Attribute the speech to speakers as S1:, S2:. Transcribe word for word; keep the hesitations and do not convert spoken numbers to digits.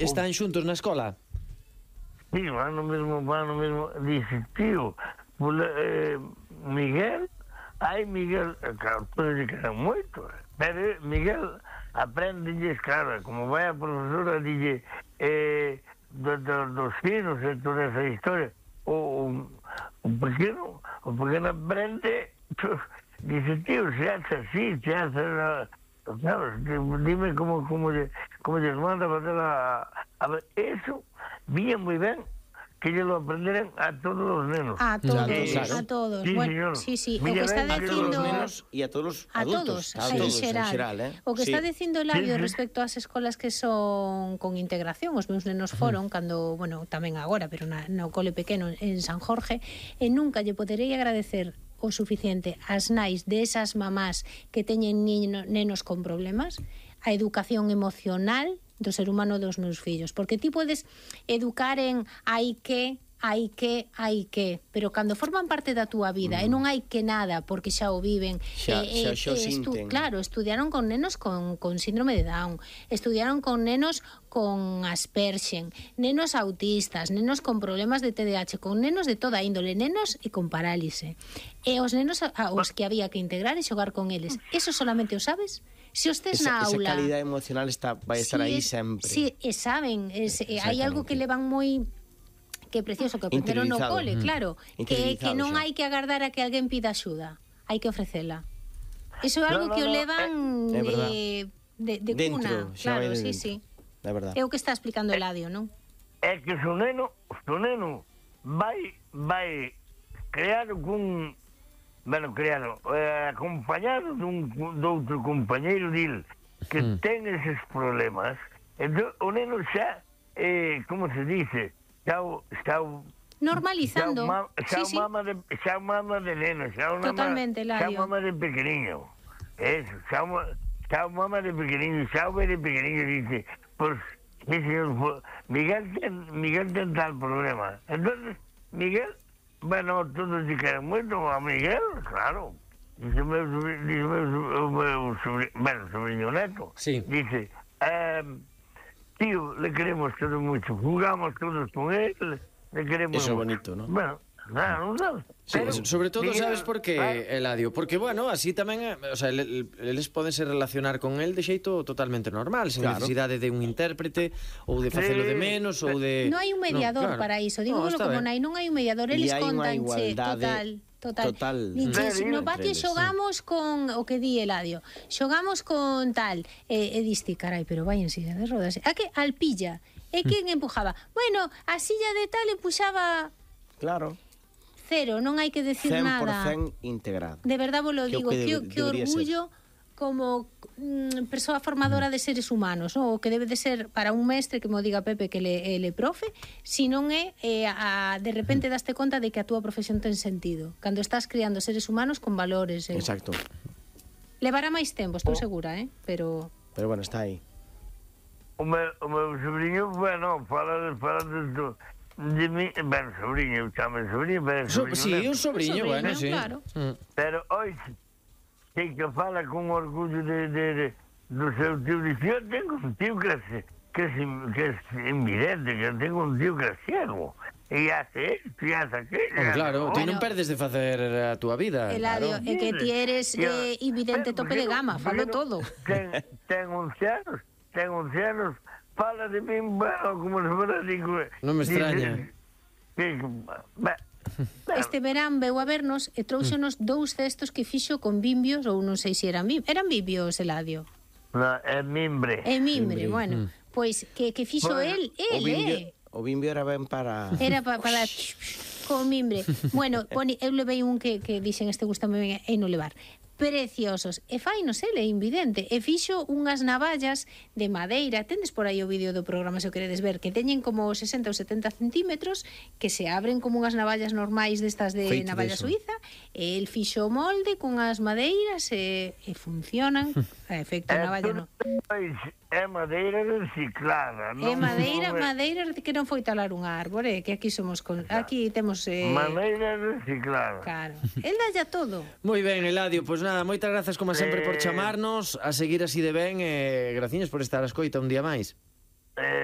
S1: Están xuntos na escola?
S2: Sí, van no mesmo, van no mesmo. Dice, tío, pues, eh, Miguel, ai Miguel, claro, todos lle quedan moito, pero Miguel aprendelles, claro, como vai a profesora, dille, eh, do, do, dos finos e toda esa historia, o, o pequeno, o pequeno aprende, dice, tío, se hace así, se hace la... Claro, dime cómo, cómo, cómo les manda a facer a, a ver, eso, bien moi ben, que ellos lo aprenderan a todos los nenos.
S3: A todos,
S1: Claro.
S3: a todos.
S2: Sí,
S3: Bueno,
S2: señor.
S3: sí, sí. O
S2: Mira,
S3: que está
S2: ven,
S4: A todos
S3: dicindo...
S4: os nenos e a todos os
S3: A
S4: adultos.
S3: todos,
S4: A
S3: en
S4: todos,
S3: xeral.
S4: en xeral, eh?
S3: O que
S4: Sí.
S3: está dicindo Eladio
S2: Sí, sí.
S3: respecto ás escolas que son con integración, os meus nenos foron cando, bueno, tamén agora, pero na, no cole pequeno en San Jorge, e nunca lle poderei agradecer o suficiente ás nais desas mamás que teñen niño, nenos con problemas, a educación emocional do ser humano dos meus fillos, porque ti podes educar en hai que hai que, hai que, pero cando forman parte da túa vida mm. e non hai que nada porque xa o viven,
S4: Xa-
S3: e,
S4: xa xo
S3: estu,
S4: sinten.
S3: claro, estudiaron con nenos con, con síndrome de Down, estudiaron con nenos con Aspergen, nenos autistas, nenos con problemas de T D A H, con nenos de toda índole, nenos e con parálise, e os nenos a, a, os que había que integrar e xogar con eles, eso solamente o sabes se os tes
S4: Esa,
S3: na
S4: esa
S3: aula.
S4: calidad emocional está, vai estar
S3: Sí,
S4: aí
S3: es-
S4: sempre.
S3: Sí, e saben, es, e hai algo que levan moi que precioso que aprenderon no
S4: Interiorizado.
S3: cole,
S4: Mm.
S3: claro, que,
S4: Interiorizado
S3: que non
S4: xa.
S3: hai que agardar a que alguén pida axuda, hai que ofrecela. Iso é
S2: No,
S3: algo
S2: no,
S3: que o
S2: no,
S3: levan
S4: eh, é verdad.
S3: eh, de, de
S4: Dentro,
S3: cuna,
S4: xa vai
S3: claro,
S4: de
S3: sí,
S4: dentro.
S3: sí.
S4: É verdade.
S3: É o que está explicando Eladio, non?
S2: É que su neno, su neno vai, vai creado cun, bueno, creado, eh, acompañado dun, doutro compañeiro dil que mm. ten eses problemas, entón o neno xa, eh, como se dice, xa o, xa o
S3: Normalizando.
S2: Xa, ma, xa
S3: Sí, sí.
S2: mama de xa mama de neno, xa una
S3: Totalmente,
S2: xa
S3: Eladio.
S2: mama de pequeniño. Eso, xa, ma- xa mama de pequeniño, xa ve de pequeniño dice, pues, sí, señor, pues, Miguel ten, Miguel ten tal problema. Entonces, Miguel, bueno, todos se quedan moito a Miguel, claro. Dice meu sobrinho, dice meu, so- o meu sobrinho, bueno, sobrinho neto,
S1: Sí.
S2: dice, eh, tío, le queremos todos mucho, jugamos todos con él, le queremos
S4: Eso é
S2: mucho.
S4: bonito, ¿no?
S2: Bueno, claro, non sabes.
S1: Sí,
S2: Pero,
S1: sobre todo,
S2: Miguel,
S1: sabes por qué,
S2: claro,
S1: Eladio? Porque, bueno, así tamén, eh, o sea, el- el- eles podense relacionar con el de xeito totalmente normal, sen
S4: Claro.
S1: necesidade de un intérprete, ou de facelo de
S2: Sí.
S1: menos, ou de...
S3: Non hai un mediador
S1: No, claro.
S3: para iso, digo
S1: No, está
S3: como
S1: ben.
S3: nai, non hai un mediador,
S4: E
S3: eles
S4: hai unha
S3: contanche
S4: igualdade
S3: total, total.
S4: total
S3: Dices,
S2: entre
S3: no patio
S4: eles,
S3: xogamos con o que di Eladio, xogamos con tal, e, e diste, carai, pero vai en silla de rodas. A que alpilla? E quen empujaba? Bueno, a silla de tal empuxaba
S4: Claro.
S3: cero, non hai que decir
S4: cen por
S3: nada.
S4: cen integrado.
S3: De verdad vos lo
S4: Que o
S3: digo,
S4: que
S3: que,
S4: debe-
S3: que
S4: debería
S3: orgullo como mm, persoa formadora de seres humanos, ¿no? O que debe de ser para un mestre que mo diga Pepe que le, ele profe, si non é eh, a, de repente daste conta de que a túa profesión ten sentido, cando estás criando seres humanos con valores. Eh.
S4: Exacto.
S3: Levará máis tempo, estou segura, eh? Pero
S4: Pero bueno, está aí.
S2: O meu, o meu sobrinho, bueno, fala, fala de, de, de mí, bueno, sobrinho, chame sobrinho, pero
S1: So,
S2: sobrinho
S1: sí,
S2: neto.
S1: un sobrinho,
S3: Un
S1: bueno,
S3: sobrinho,
S1: sí.
S3: claro.
S1: Mm.
S2: Pero hoy sí que fala con orgullo de, de, de do seu tío. Dice, yo tengo un tío que es, que es, que es invidente, que tengo un tío que es ciego. E hace esto, e hace aquello.
S1: Oh, claro, ti
S3: Bueno.
S1: non perdes de facer a túa vida.
S3: Eladio,
S1: claro.
S3: é que ti eres eh, invidente tope de gama, falo todo.
S2: Ten, ten once anos, ten once anos, fala de min, bueno, como se fuera, digo...
S1: Non me extraña.
S2: Dice, que,
S3: Este verán veu a vernos e trouxenos dous cestos que fixo con bimbios, ou non sei se eran bimbios, eran bimbios, Eladio.
S2: no, é mimbre.
S3: É mimbre,
S4: Mimbre,
S3: bueno, pois que, que fixo
S2: Bueno,
S3: el,
S4: O
S3: el,
S4: bimbio,
S3: eh.
S4: o bimbio era ben para...
S3: Era pa, para con mimbre. Bueno, poni, eu levei un que, que dixen este gusta ben e non levar. Preciosos. E fainos ele, invidente. E fixo unhas navallas de madeira. Tendes por aí o vídeo do programa se o queredes ver, que teñen como sesenta ou setenta centímetros, que se abren como unhas navallas normais destas de
S4: Feito
S3: navalla
S4: deso.
S3: suiza. E el fixo o molde con as madeiras e, e funcionan. A efecto
S2: É
S3: navalla
S2: tudo,
S3: non.
S2: pois, é madeira reciclada.
S3: É
S2: non-
S3: madeira,
S2: non é-
S3: madeira que non foi talar un árbore, que aquí somos con, aquí temos eh,
S2: Madeira reciclada.
S3: claro. El dalla todo.
S1: Moi ben, Eladio, pois nada, moitas grazas como sempre por
S2: Eh.
S1: chamarnos, a seguir así de ben e graciñas por estar a escoita un día máis.
S2: Eh,